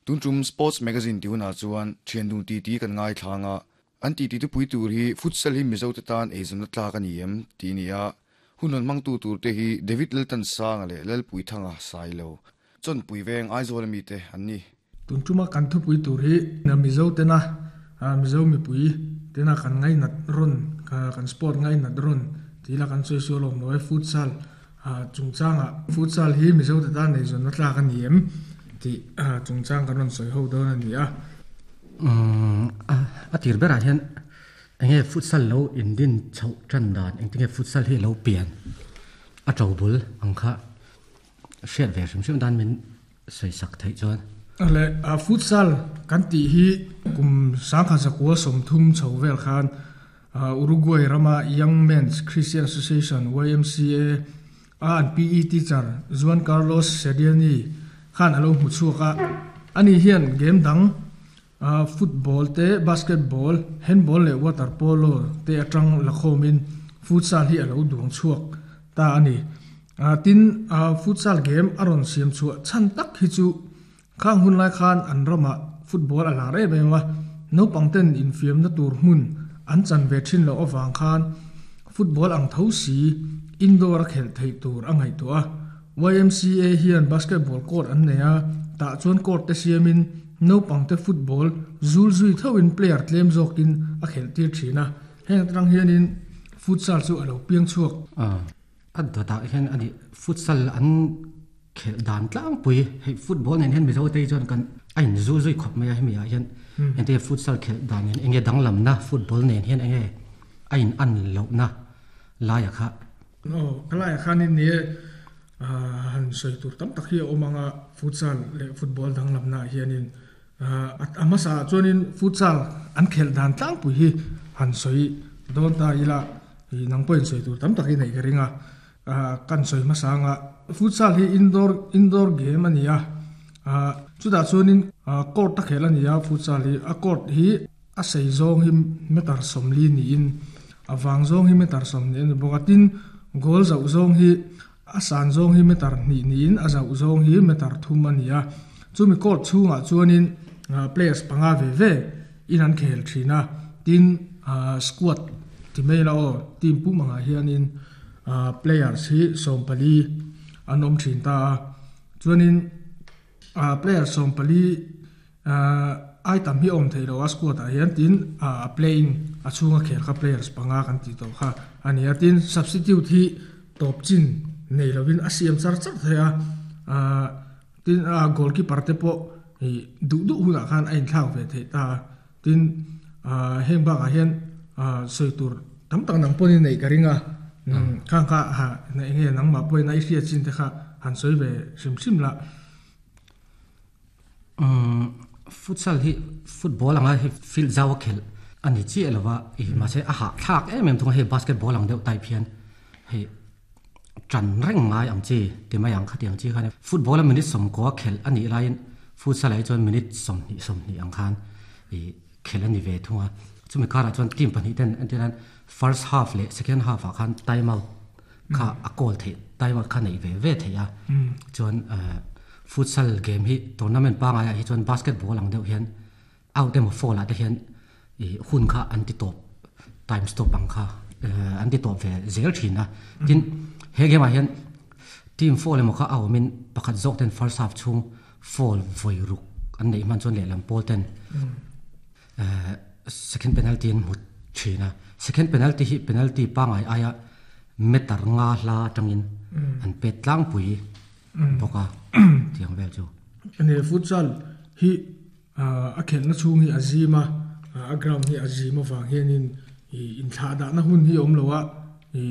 Tun tum Sports Magazine tih hunah chuan thian dun titi kan ngaithlang a, an titi thupui tur hi Futsal hi Mizote tan eizawnna tlak a ni em? tih a ni a. Hun rawn hmangtu turte hi David Laltansanga leh Lalpuithanga Sailo, Chawnpui veng Aizawl mite an ni. Tun tuma kan thupui tur hi Mizo tena Mizo mipui tena kan ngainat rawn kan sport ngainat rawn tih ila kan sawi sual awm lo e futsal chungchangah futsal hi Mizo te tan eizawnna tlak a ni em tih chungchang kan rawn sawi ho dawn a ni a. A tir berah hian enge futsal lo indin chhoh tan dan engtinge futsal hi a lo pian a to bul ang kha. Hriat ve hrim hrim dan min sawisak theih chuan. Le futsal kan tih hi kum sangkhat zakua 30 chho vel khan Uruguay rama Young Men's Christian Association, YMCA, a an PE teacher Juan Carlos Sediani khan a lo hmu chhuak a. Ani hian game dang football te, basketball, handball leh water polo te atang lakhawmin futsal hi a lo duang chhuak ta a ni. Tin, futsal game a rawn siam chhuah chhan tak hi chu khang hun lai khan an ramah football a lar em em a, naupang ten infiamna tur hmun an chan ve thin loh avang khan football ang tho si indoor a khelh theih tur a ngaihtuah a. YMCA hian basketball court an nei a, tah chuan court te siamin naupang te football zul zui thoin player tlem zawkin a khelh tir thin a, heng atang hianin futsal chu a lo piang chhuak. A dawtah hian a nih futsal an khelh dan tlangpui hei football nen hian Mizo te hi chuan kan a in zu zui khawp mai a hemi ah hian engtin futsal khelh dan hian enge danglamna football nen hian enge a in an lohna laia kha. Aw ka laiah khanin ni e han sawi tur tam tak hi a awm ang a futsal leh football danglamna ah hianin a hmasa ah chuanin futsal an khelh dan tlangpui hi han sawi dawn ta ila ih nang pawhin sawi tur tam tak hi neih ka ring a kan sawi hmasa anga futsal hi indoor indoor game a ni a chutah chuanin court a khelh a ni a futsal hi a court hi a sei zawng hi meter 40 niin a vang zawng hi meter 20 a ni bawk a tin goal zauh zawng hi A san zawng hi meter 2 niin a zauh zawng hi meter 3 a ni a. Chumi court chhungah chuanin players panga ve ve in an khel thin a. Tin, squad ti mai ila aw, team pum angah hianin players hi 14 an awm thin ta a. Chuanin player 14 Ai tam hi a awm theih loh a squad ah hian tin a playing a chhunga khel kha players panga kan tih tawh kha a ni a tin substitute hi tawp chin nei lovin a siam char char thei a tin a goalkeeper te pawh ih duh duh hunah khan a inthlak ve theih ta a tin heng bakah hian sawi tur tam tak nang pawhin neih ka ring a khang kha eng nge nangmah pawhin a i hriat chin te kha han sawi ve hrim hrim lah. Futsal hi football anga hei field zau a khelh a ni chiah lo va, ih mahse a hahthlak em em thung a, hei basketball ang deuh type hian hei tan reng ngai ang chi ti mai ang khatiang chi khan football a minute 90 khelh a nih laiin futsal ah hi chuan minute 20 20 ang khan ih khelh a ni ve thung a, chumi karah chuan team pahnih ten entir nan first half leh second half ah khan time out kha a call theih time out kha neih ve ve theih a chuan futsal game hi tournament pangai ah hi chuan basketball ang deuh hian out emaw foul ah te hian ih hun kha an ti tawp time stop ang kha an ti tawp ve zel thin a tin he game ah hian team foul emaw kha a awmin pakhat zawk ten first half chhung foul vawi ruk an neih hman chuan lehlam pawl ten Second penalty an hmu thin a, second penalty hi penalty pangai aia meter nga hla atangin an pet tlangpui bawk a tiang vel chu. Ane futsal hi a khelhna chhung hi a zim a, a ground hi a zim avang hianin inthlah dahna hun hi a awm lo a.